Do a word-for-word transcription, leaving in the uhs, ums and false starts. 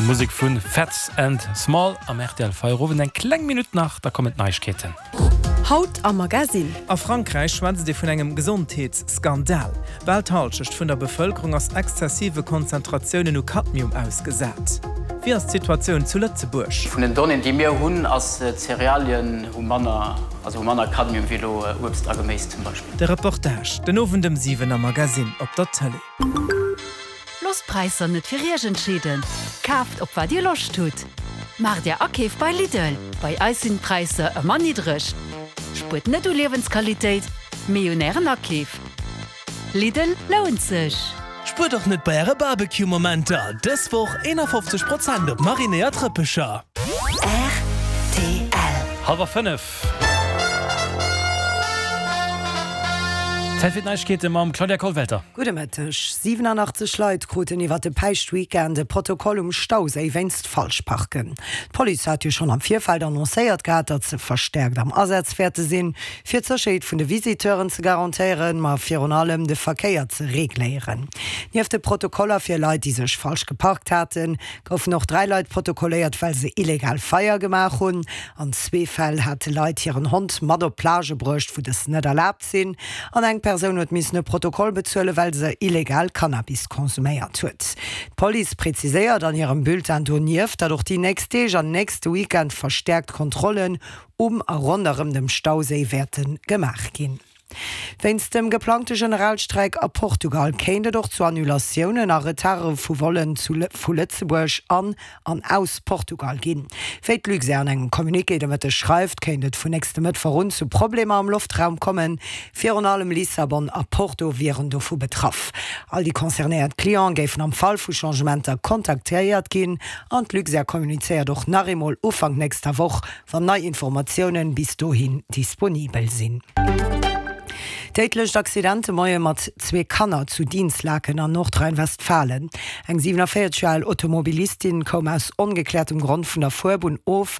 Musek vu Phats and Small am R T L Feierowend. Eng kleng Minutt nach, da kommen d'Neiegkeeten. Haut am Magazin. A Frankräich schwätzt ee vun engem Gesondheetsskandal. Bal d'Hallschent vun der Bevëlkerung ass exzessive Konzentratiounen u Kadmium ausgesat. Wéi ass d'Situatioun zu Lëtzebuerg? Vun den Donnéeën, déi mir hunn, ass Cerealien hu manner, also hu manner Kadmium wéi elo Uebst a Geméis zum Beispill. De Reportage den Owend ëm siwen am Magazin op der Tëlee. Loosst d'Präisser net fir iech entscheeden. Kaaft op wat dir Loscht hutt. Maacht är Akeef bei Lidl. Bei eis sinn d'Präisser ëmmer niddreg. Spuert net u Liewensqualitéit, mee un ären Akeef. Lidl lount sech. Spuert och net bei äre Barbecue-Momenter. Dës Woch eenafofzeg Prozent op marinéiert Rëppecher. R T L. Hallwer fënnef. Zäit fir d'Neiegkeete mam Claudia Kollwelter. Gudde Mëtteg. siwenanachtzeg Leit kruten iwwer de Päischtweekend e Protokoll um Stauséi wéinst Falschparken. D'Police hat jo schonn am Virfeld annoncéiert gehat, datt se verstäerkt am Asaz wäerte sinn, fir d'Sécherheet vun de Visiteuren ze garantéieren, ma virun allem de Verkéier ze regléieren. Nieft de Protokoller fir Leit, déi sech falsch geparkt haten, goufen och dräi Leit protokolléiert, well se illegal Feier gemaach hunn. An zwee Fäll hate Leit hiren Hond mat op d'Plage bruecht, wou dës net erlaabt sinn. An eng Persoun huet missen e Protokoll bezuelen, well se illegal Cannabis konsuméiert huet. D'Police präziséiert an hirem Bulletin donieft, datt och déi nächst Deeg an nächste Weekend verstäerkt Kontrollen um a ronderëm dem Stauséi wäerte gemaach ginn. Wéinst dem geplangte Generalstreik a Portugal kéint et och zu Annulatiounen a Retarde vu Vollen vu Lëtzebuerg an an aus Portugal ginn. Wéi d'Luxair an engem Communiqué de Mëtteg schreift, kéint et vun nächste Mëttwoch un zu Problemer am Loftraum kommen. Virun allem Lissabon a Porto wieren dovu betraff. All déi concernéiert Cliente géifen am Fall vu Changementer kontaktéiert ginn an d'Luxair kommunizéiert och nach eemol Ufank nächster Woch, wann nei Informatiounen bis dohin disponibel sinn. Déidlecht Accident de Moie mat zwee Kanner zu Dinslaken an Nordrhein-Westfalen. Eng siewenenvéierzeg Joer al Automobilistin koum aus ongekläertem Grond vun der Fuerbunn of